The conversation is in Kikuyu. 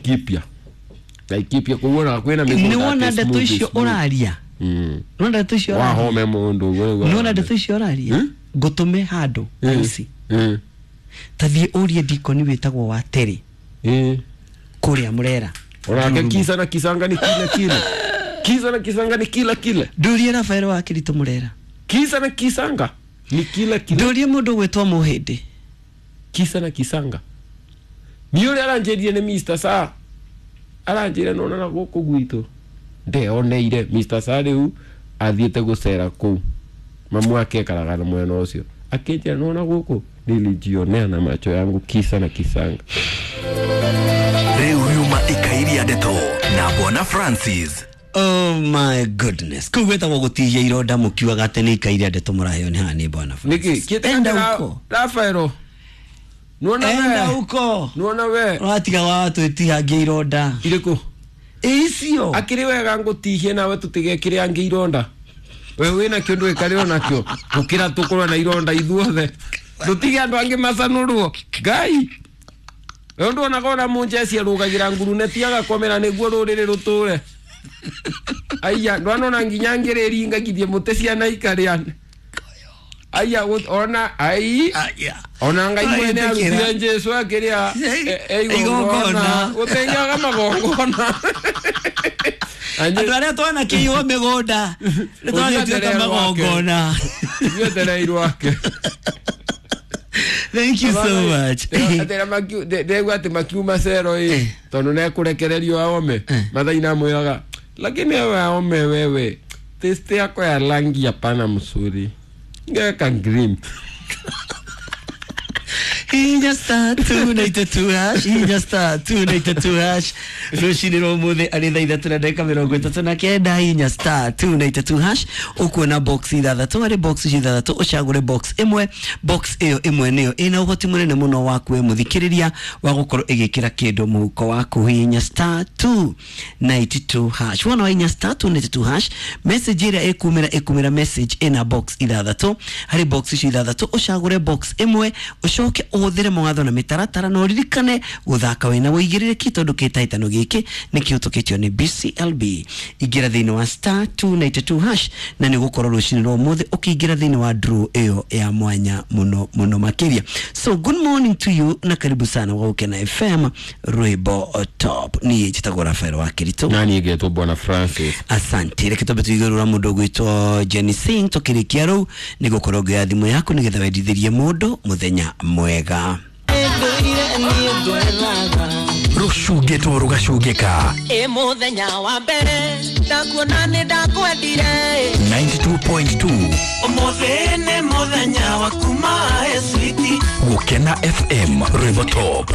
Laikipia. Laikipia kuona kwina migunda. Nĩ wona ndeto icio ũraria. Nĩ ndeto icio ũraria. Wahome mundu wewe. Nĩ wona ndeto icio ũraria. Ngũtũme handũ harusi. Tathiĩ ũrie dikoni wĩtagwo wa Terĩ. Kũrĩa Murera. Onake kisa na kisanga ni kila kila. Kisa na kisanga ni kila kila. Ndũrie Rafael wa Kirito Murera. Kisa na kisanga ni kila kila. Ndũrie mũndũ gwĩtwo Mũhĩndĩ. Kisa na kisanga. Ni ũrĩa aranjĩrire nĩ Mr. Sa. Aranjĩra nona na gũkũ gwitũ. Ndeoneire Mr. Sa rĩu athiĩte gũcera kũu. Mamu wake ekaraga na mwena ũcio. Akĩnjĩra nona gũkũ nilijionea na macho yangu kisa na kisanga. Rĩu yuma ikairia ndeto na Bwana Francis. Oh my goodness. Kũu gwĩtagwo gũtihia ironda mũkiugaga atĩ nĩ ikairia ndeto mũraheo nĩ haha nĩ Bwana Francis. Nĩkĩ? Enda huko. Rafaelo. Nuona we. Enda huko. Nuona we. Ũratiga wa twĩtihangia ironda. Irĩkũ? Icio. Akĩrĩ wega ngũtihie nawe tũtigekĩre angĩ ironda. We wĩna kĩo ndwĩkarĩo nakĩo. Gũkĩra tũkorwo na ironda ithuothe. Tũtige andũ angĩ macanũrwo. Ngai. We nduonaga ona mũnjeci arũgagĩra nguruneti agakomera nĩguo rũrĩrĩ rũtũre. Aya ndwanona nginya ngĩrĩringagithie mũtĩ ciana ikarĩa. Aya ona ai ona Ngai mwene arutire Jesu akĩrĩa igongona gũtenyaga magongona. Andũ arĩa twanakĩiywo mĩgũnda nĩ twagĩtuĩka magongona. Ithuetereirwo ake. Thank you so much. Ndegwa atĩ makiuma cero ĩ tondũ nĩekũrekererio aome mathaina amwĩraga lakini wewe aome wewe taste yako ya rangi hapana mzuri. Ngeka green. Hinya star 292 hash, hinya star 292 hash. Rũcinĩ rwa ũmũthĩ arĩ thaa ithatũ na ndagĩka mĩrongo ĩtatũ na kenda. Hinya star 292 hash ũkuona box ithathatũ, harĩ box ithathatũ ũcagũre box ĩmwe. Box ĩyo ĩmwe nĩyo ĩna ũhoti mũnene mũno waku we mũthikĩrĩria wa gũkorwo ĩgĩkĩra kĩndũ mũhuko waku. Hinya star 292 hash. Wona wa hinya star 292 hash, message ĩrĩa ĩkumĩra message ĩna box ithathatũ. Harĩ box icio ithathatũ ũcagũre box ĩmwe, ũcoke ũhũthĩre mawatho na mĩtaratara na ũririkane gũthaka wĩna ũigĩrĩrĩki tondũ kĩhĩtahĩtano gĩkĩ nĩ kĩhĩtũkĩtio nĩ BCLB. Ingĩra thĩinĩ wa star 292 hash na nĩ gũkorwo rũcinĩ rwa ũmũthĩ ũkĩingĩra thĩinĩ wa draw ĩyo ya mwanya mũno mũno makĩria. So good morning to you na karibu sana wa Gukena FM rwĩmbo top. Niĩ njĩtagwo Rafael wa Kirito na niĩ ngetwo Bwana Francis. Asante. Reke twambe tũigũrũra mũndũ ũgwĩtwo Jenny Singh tũkĩrĩkia rũu nĩ gũkorwo ngĩoya thimũ yaku nĩgetha wendithĩrie mũndũ mũthenya mwega. Rũcungĩtwo rũgacungĩka. Ĩ mũthenya wa mbere ndakuona nĩ ndakwendire. 92.2 Ũmũthĩ nĩ mũthenya wa kuma switi. Gukena FM Rwĩmbo Top.